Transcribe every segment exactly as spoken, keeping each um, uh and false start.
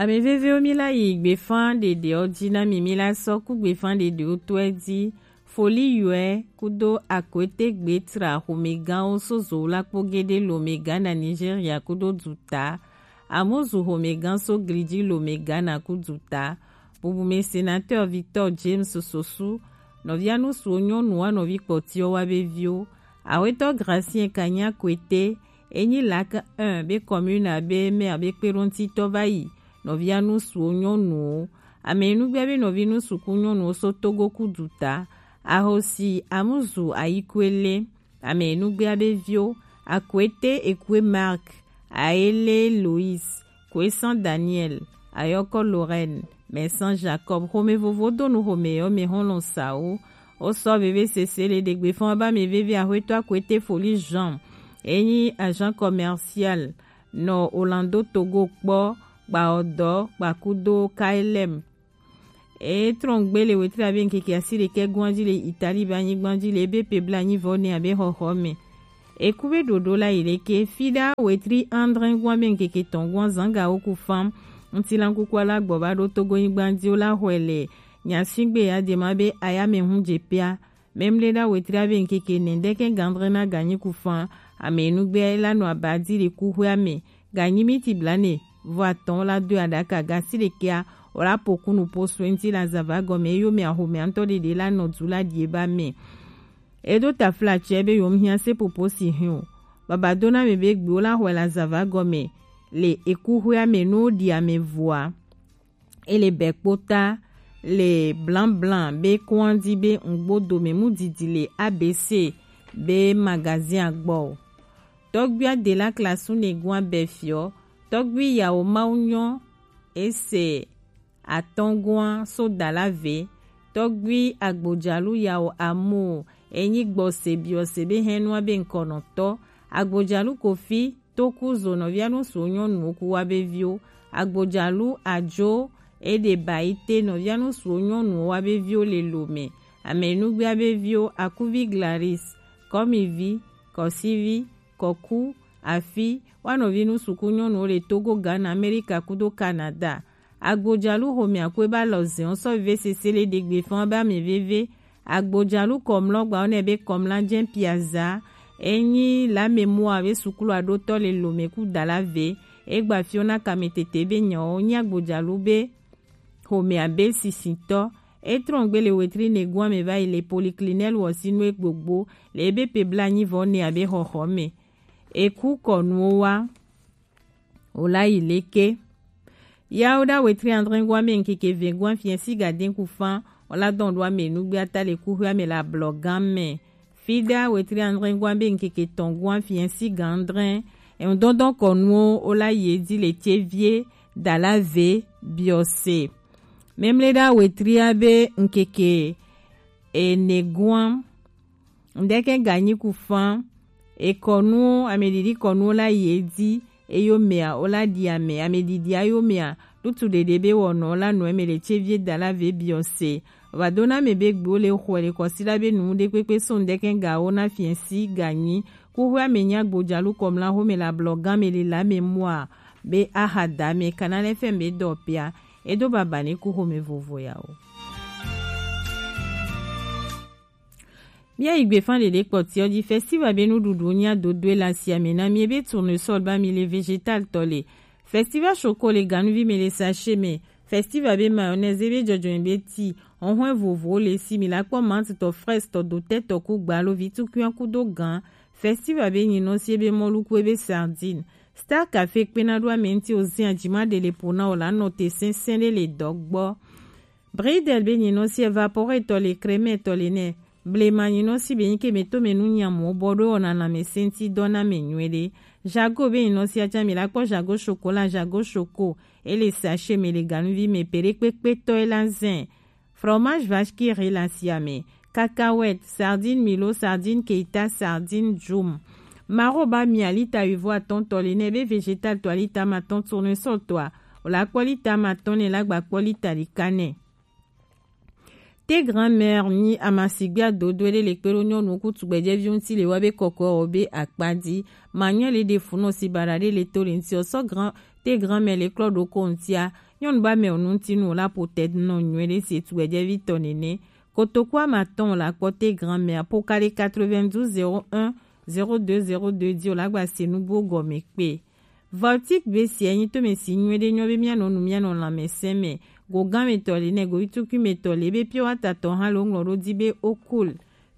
Ame vevewo, mi la yi gbefan ɖeɖewo ji na mi, mi la sɔ ku gbefan ɖeɖewo tɔe ji. Foli yɔe kudo akwete gbe tra xomegãwo so zowo la kpo gede lome Ghana, Nigeria kudo duta. Amuzu xomegã so gliji lome Ghana ku duta. Bubume sénateur Victor James Sosu, nɔvia nusuwo nyɔnuwo wa nɔvi kpɔtiwo wa be viwo. Awetɔ Gracien Kanya Kwete, enyi lak un be commune abe maire be kpeɖoŋtitɔ va yi. Nɔvia nusuwo nyɔnuwo. Ame nugbea be nɔvi nusuku nyɔnuwo so Togo ku duta. Ahosi Amuzu Ayikwele. Ame nugbea be viwo, Akwete Ekwe Mark, Aele Lois, Kwesan Daniel, Ayɔkɔ Lorraine, Mɛsan Jacob, xome vovo do nu xome yɔ me xɔlɔn sawo. Wo sɔ veve sese le ɖegbe fɔn ba me veve axwetɔ Akwete Foli Jean. Enyi agent commercial nɔ Orlando Togo kpɔ, gba ɔdɔ, gba kudo K L M. E trɔngbe le wetri abe ŋkeke asi ɖekɛ gɔn ji le Italie be anyigba ji le ebe pe bla anyi vɔ ne abe xɔxɔ me. Eku be ɖoɖo la yi leke fi ɖa wetri andre gɔn be ŋkeke tɔn gɔn zanga wo ku fam. Ŋutilan kuku ala gbɔ ba ɖo Togo nyigba ji wo la xɔe le nyasingbe ya de ma be aya me hun je pia. Memle ɖa wetri abe ŋkeke nɛ ɖeke gandre na ganyi ku fam. Ame nugbe la nɔ abadi le kuxwe ame. Ganyi miti blane vɔ atɔn la do aɖaka gasi ɖekea, wòla po kunu po sue ŋuti la zava gɔme, eyo mɛ axome ŋutɔ ɖeɖe la nɔ du la ɖie ba mɛ. Eɖo tafla tsɛ be yom hiã se popo si hin o. Baba do na me be gbiwo la xɔe la zava gɔme le ekuxwea me no ɖi ame vɔa. Ele bɛ kpota le blaŋblaŋ be kɔn di be ŋgbo dome mu didi le A B C be magazin agbɔ o. Tɔgbui Adela Klasu ne gua bɛ fiɔ. Tɔgbui Yawo Mawu nyɔ ese atɔngua so dala ve. Tɔgbui Agbojalu Yawo Amo enyi gbɔse biɔse be hɛnua be ŋkɔnɔtɔ. Agbojalu Kofi Toku zo nɔvia nusuwo nyɔnuwo ku wa be viwo. Agbojalu Ajo eɖe ba yi te nɔvia nusuwo nyɔnuwo wa be viwo le lome. Ame nugbea be viwo Akuvi Glaris, Kɔmivi, Kɔsivi, Kɔku, Afi, wa nɔvi nusuku nyɔnuwo le Togo, Ghana, Amerika kudo Canada. Agbojalu xomɛ akwe ba lɔ zɛn sɔ veve sese le ɖegbe fɔn ba mɛ veve. Agbojalu kɔmlɔ gba wonɛ be kɔmla jɛn piaza. Enyi lame mua be sukulu aɖotɔ le lome ku dala ve. Egba fiona kame tete be nyawo nyi agbojalu be xomɛ abe sisitɔ. Etrɔn gbe le wetri ne gua me va yi le poliklinɛl wɔsinu egbogbo le ebe pe bla nyi vɔ ne abe xɔxɔ me. Eku kɔnuwo wa. Wòla yi leke? Yawo ɖa wetri andre gua me ŋkeke ve gua fiɛ si gadin ku fan. Wòla dɔn ɖo ame nugbe ata le kuxwe ame le ablɔ gan me. Fi ɖa wetri andre gua be ŋkeke tɔn gua fiɛ si gan andre. Eŋdɔndɔn kɔnuwo wòla yi edzi le tse vie dala ve biɔse. Memle ɖa wetri abe ŋkeke ene gua. Ŋdeke ganyi ku fan. Ekɔnuwo, ameɖiɖi kɔnuwo la yi edzi. Eyo mea, wola ɖi ame. Ameɖiɖi ayo mea, lutu ɖeɖe be wɔnɔ la nɔ eme le tse vie dala ve biɔse. Vado na me be gbewo le xɔe le kɔsi la be nu ɖe kpekpe so ŋdeke gawo na fiɛ si ganyi. Kuxwe ame nya gbodzalu kɔmla xome le ablɔ gan me le la me mua be aha da me kana le fɛn be dɔ pia. Edo baba ne ku xome vovo ya o. Míayi gbefan ɖeɖe kpɔtiɔ ji. Festival be nuɖuɖu nya dodoe le asiame na mi ebe tournesol ba mi le vegetal tɔ le. Festival choco le ganuvi me le sachet me. Festival be mayonnaise ebe jɔjɔme be ti. Ɔhɔn vovo le si mi la kpɔ mant tɔ, fraise tɔ, dotɛ tɔ ku gbalo vi tukuyan kudo gan. Festival be nyinɔ si ebe mɔluku ebe sardine. Star Café kpena ɖo ame ŋuti o zin ajima ɖe le po na o la nɔ te sɛnsɛn ɖe le dɔ gbɔ. Bridel be nyinɔ si evapore tɔ le creme tɔ le nɛ. Blema nyinɔ si be nyike me to me nu nyamo bɔ ɖo wɔna na me senti dɔ na me nyuie ɖe. Jago be nyinɔ si aja mi la kpɔ jago chocolat, jago choco. Ele sachet me le ganuvi me peɖe kpekpe tɔ ela zɛn. Fromage vache qui rit la siame. Cacahuète, sardine Milo, sardine Keita, sardine Jum. Maro ba mi alita wivo atɔn tɔ le nɛ be vegetal tɔ alita ma tɔn tournesol tɔa. O la kpɔ lita ma tɔn ne la gba kpɔ lita ɖeka nɛ. Te grand-mère nyi amasigbe adodo ɖe le kpe ɖo nyɔnu kutu gbɛjɛvi ŋuti le wa be kɔkɔ o be akpa di. Manyɔ le ɖe funɔ si baɖa ɖe le to le ŋuti o sɔ grand Te grand-mère le klɔ ɖo ko ŋtia. Nyɔnu ba mɛ o nu ŋti nu o la po tɛ nɔ nyuie ɖe se tu ɛjɛ vi tɔ nene. Kotoku ama tɔn o la kpɔ te grand-mère po kale quatre-vingt-douze zéro un zéro deux zéro deux di o la gba se nugbo gɔme kpe. Voltic be si enyi to mɛ si nyuie ɖe nyɔ be mia nɔ nu mia nɔ lanmɛ sɛn mɛ. Go gan mɛ tɔ le nɛ go vitukui mɛ tɔ le be pure water tɔ hã lo ŋlɔ ɖo di be o cool.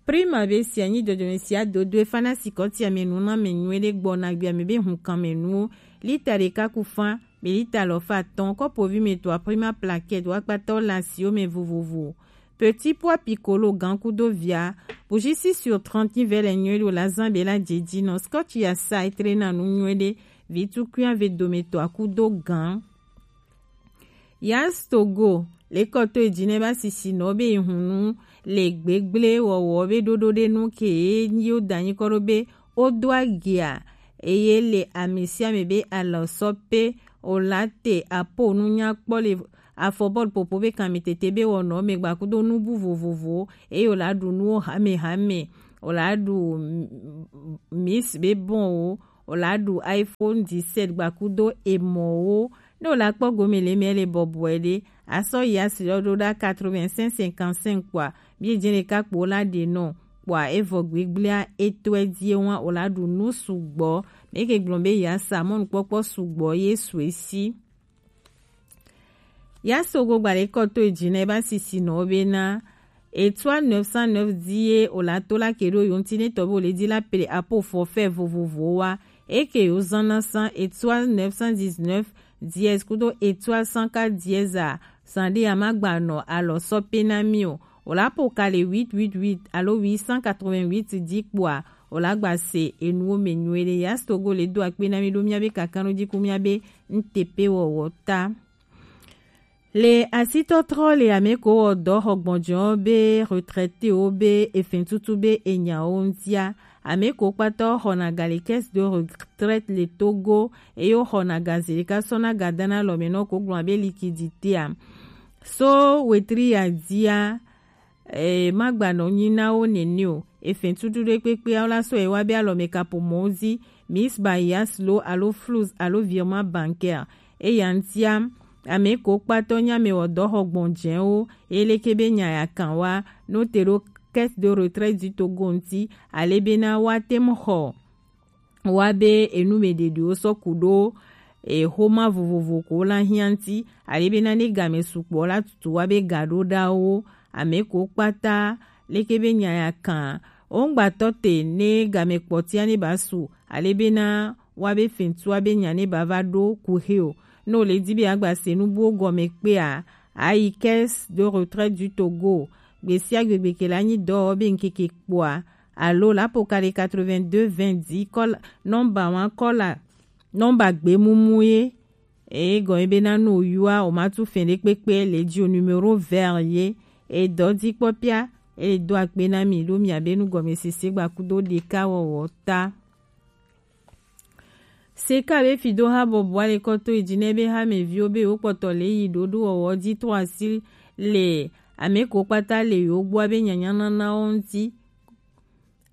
Prima be sia nyi dodome sia dodo e fana sikɔ tia mɛ nu na mɛ nyuie ɖe gbɔ na gbia mɛ be hun kan mɛ nuwo. Lita ɖeka ku fan, mɛ lita lɔ fa tɔn kɔpo vi mɛ to a prima plaquette wa kpata o la si o mɛ vovovo. Petit pois piccolo gan kudo via. Bougie six sur trente nyi vɛ lɛ nyuie ɖe o la zan be la jeji nɔ. Scotch ya sa e tre na nu nyuie ɖe. Vitukui ave dome to a kudo gan. Yas Togo, lekɔ to eji nɛ ba sisi nɔ be ihunu le gbegble wɔwɔ be ɖoɖo ɖe nu ke ye yo da nyikɔ ɖo be o do agia eye le amesiame be alɔ sɔ pe o la te apo nu nyakpɔ le afɔbɔl popo be kan mi tete be wɔnɔ me gba kudo nubu vovovo eye o la ɖu nuwo hamehame, o la ɖu mis be bɔn o, o la ɖu iPhone dix-sept gba kudo emɔwo. Ne o la kpɔ gome le mɛ le bɔbɔe ɖe, a sɔ yi asi lɔ ɖo ɖa quatre-vingt-cinq cinquante-cinq kpɔa, bi e jɛn ɖeka kpo o la ɖe nɔ kpɔa evɔ gbegblea etɔɛ die wa o la ɖu nu sugbɔ. Mɛ ke gblɔn be ya sa mɔnukpɔkpɔ sugbɔ ye su esi. Ya Sogo gbalekɔ to eji nɛ ba sisi nɔ be na Étoile neuf cent neuf di ye o la to la ke ɖo yo ŋti ne tɔ be o le di la ple apo forfait vovovo wa. E ke yo zan na san étoile neuf cent dix-neuf dièse kudo étoile cent quatre dièse a, san ɖe a ma gba nɔ alɔ sɔ pe na mi o. O la po kale huit huit huit alo huit cent quatre-vingt-huit di kpɔa, o la gba se enuwo mɛ nyuie ɖe. Ya Sogo le do akpe na mi ɖo mia be kakanɖo ji ku mia be N T P wɔwɔ ta. Le asitɔtrɔ le ameko wɔ dɔ xɔ gbɔnjɔ be retraité wo be efin tutu be enyawo ŋtia. Ameko kpatɔ xɔna ga le caisse de retraite le Togo eye wo xɔna ga zi ɖeka sɔna ga dana lɔ me nɔ ko gblɔ be liquidité a. So wetri ya dia e, magbanɔ nyi na wo nene o. Efɛn tutu ɖe kpekpe awo la sɔ ewa be alɔme kapo mɔwo zi, Miss Bayas lo alo Flus alo virement bancaire. Eya ŋtia, ame ko kpatɔ nya me wɔ dɔ xɔ gbɔn jɛwo, eye leke be nya ya kan wa, no te ɖo caisse de retraite du Togo ŋti, ale bena woate ŋu xɔ wa be enu me ɖeɖewo sɔ ku ɖo exoma vovovo ko la hiã ŋti, ale bena ne game sukpɔ la tutu wa be ga ɖo ɖa wo, ame ko kpata leke be nya ya kan. Wo ŋgbatɔ te ne game kpɔtia ne ba su, ale bena wa be fentua be nya ne ba va ɖo ku he o. Ne wo le di be agba se nu buwo gɔme kpea, ayi caisse de retraite du Togo. Gbe sia gbe gbe ke la nyi dɔ be ŋkeke kpɔa, alo la po ka ɖe quatre-vingt-deux vingt dix kɔla, nɔmba wa kɔla, nɔmba gbemumu ye. Eye gɔn ye bena no yua o ma tu fɛn ɖe kpekpe le ji o numéro vert ye. E dɔ di kpɔ pia, e do akpe na mi ɖo mia be nu gɔme sese gba kudo ɖeka wɔwɔ ta. Seka be fi do ha bɔbɔ ale kɔto yi ji ne be ha me viwo be wo kpɔtɔ le yi ɖoɖo wɔwɔ di to asi le ame ko kpata le yo gbɔ be nyanya nana wo ŋti.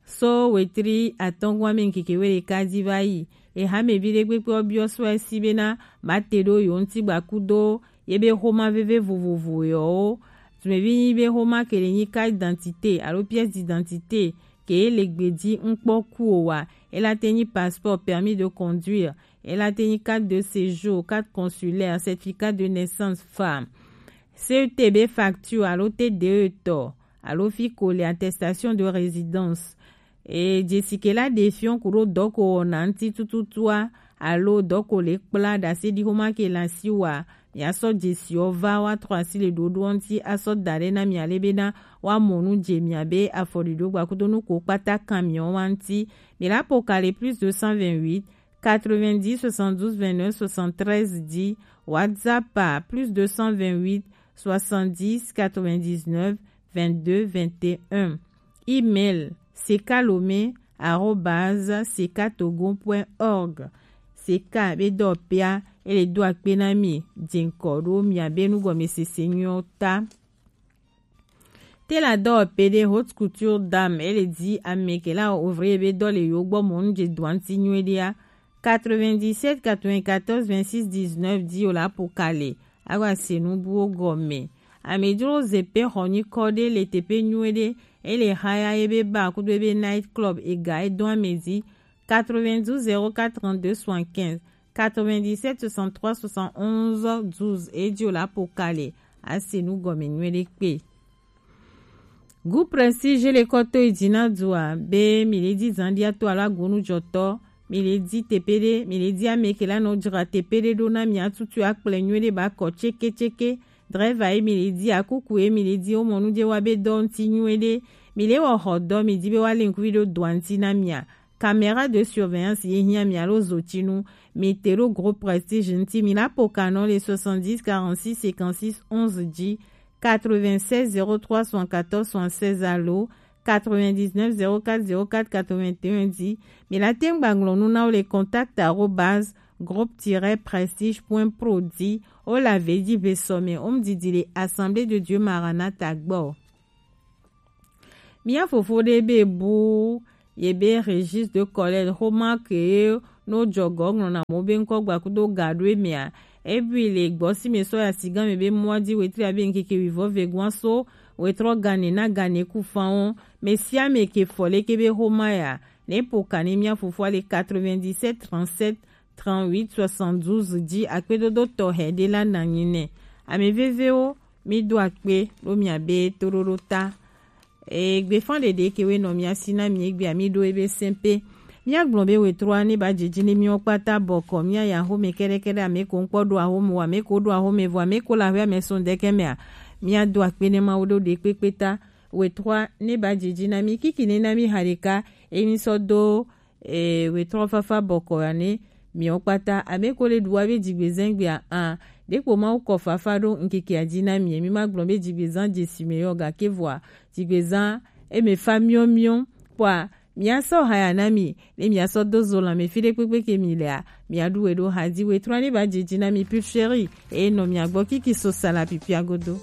So wetri atɔngua me ŋkeke we ɖeka di va yi. Eha me vi ɖe kpekpe wo biɔ so esi bena ma te ɖo yo ŋti gba kudo ye be xoma veve vovovo yɔwo. Tumevi nyi be xoma ke le nyi carte d'identité alo pièce d'identité ke le gbeji ŋkpɔ ku o wa. Ela te nyi passeport, permis de conduire. Ela te nyi carte de séjour, carte consulaire, certificat de naissance, femme. C E T B facture alo T D E tɔ, alo fi ko le attestation de résidence. E, jesike la ɖe fiɔn ku ɖo dɔ ko wɔna ŋti tututua, alo dɔ ko le kpla ɖase ɖi xoma ke le asi wa, mia sɔ jesiɔ va wa trɔ asi le ɖoɖoɔ ŋti asɔ da ɖe na mia le bena wa mɔ nu je mia be afɔɖiɖo gba kudo nu ko kpata kan miɔ wa ŋti. Mi la po ka le plus deux cent vingt-huit, quatre-vingt-dix, soixante-douze, vingt-neuf, soixante-treize di, WhatsApp à plus deux cent vingt-huit, soixante-dix, quatre-vingt-dix-neuf, vingt-deux, vingt et un. Email, sekalome arobase sekatogo point org. Seka be dɔ pia, ele do akpe na mi, jeŋkɔ ɖo mia be nugɔmesese nyuiɔ ta. Te la dɔ pe ɖe haute couture dame, ele di ame ke la ouvrier be dɔ le yo gbɔ mɔ nu je dɔ ŋti nyuie ɖea. quatre-vingt-dix-sept quatre-vingt-quatorze vingt-six dix-neuf dix o la po kale. Awa se nu buwo gɔme. Amedzro ze pe xɔ nyikɔ ɖe le teƒe nyuie ɖe, ele haya ebe bar kudo ebe night club ega edɔn ame dzi. Quatre-vingt-douze zéro quatre trente-deux soixante-quinze, quatre-vingt-dix-sept soixante-trois soixante-onze douze edi o la po kale. Ase nu gɔme nyuie ɖe kpe. Gu Prestige le kɔto yi dzi na dua be mi le di zandia to alo agonu jɔtɔ, mi le di tepe ɖe, mi le di ame ke la nɔ dzra tepe ɖe ɖo na mi atutu akplɛ nyuie ɖe ba kɔ tseke tseke. Driver ye mi le di, akuku ye mi le di, wo mɔ nu je wa be dɔ ŋuti nyuie ɖe. Mi le wɔ xɔ dɔ, mi di be wa le ŋkuvi ɖo dɔa ŋuti na mia. Caméra de surveillance ye hiã mi alo zotinu, mi te ɖo Gros Prestige ŋuti, mi la po kanɔ le soixante-dix quarante-six cinquante-six onze dzi, quatre-vingt-seize zéro trois soixante-quatorze soixante-seize alo quatre-vingt-dix-neuf zéro quatre zéro quatre quatre-vingt-un dzi. Mi la te ŋu gba ŋlɔ nu na wo le contact arobase groupe tiret prestige point pro dzi. Wo le ave dzi ve sɔ me, wo mu didi le Assemblée de Dieu Maranatha gbɔ. Mia fofo ɖe be bu ye be registre de collecte xoma ke no jɔgɔ ŋlɔna mo be ŋkɔ gba kudo ga ɖo emea. Ebi le gbɔsi me sɔ ya sigan me be mua di wetri abe ŋkeke wivɔ ve gua so wetrɔ gane na gane ku fan o. Me sia me ke fɔ leke be xoma ya. Ne po kani mia fofo le quatre-vingt-dix-sept trente-sept trente-huit soixante-douze dzi akpedodo tɔxɛ ɖe la nanyi nɛ. Ame vevewo, mi do akpe ɖo mia be toɖoɖo ta. Egbe fan ɖeɖe ke we nɔ mia si na mi egbe ami ɖo ebe sɛnpe. Mia gblɔ be wetrɔa ne ba dzedzi ne miwo kpata bɔkɔ mia ya xome kɛɖɛkɛɖɛ ame ko ŋkpɔ ɖo axome wa ame ko ɖo axome vɔ ame ko la hwe ame sɔn dɛkɛ mea. Mia do akpe ne ma wo ɖo ɖe kpekpe ta. Wetrɔa ne ba dzedzi na mi kiki ne na mi ha ɖeka emi sɔ do e, wetrɔ fafa bɔkɔ ya ne miwo kpata ame ko le ɖu wa be dzigbezã gbea a ɖekpo ma kɔ fafa ɖo ŋkeke adzi na mi mi ma gblɔ be dzigbezã dzesi me yɔ gake vɔa dzigbezã eme fa miɔmiɔ kpɔa mia sɔ haya na mi ne mia sɔ do zo lãme fi ɖe kpekpe ke mi lea mia ɖu we ɖo hadi wetrɔ ne ba dzedzi na mi pulcherie eye nɔ mia gbɔ kiki so sala pipia godo.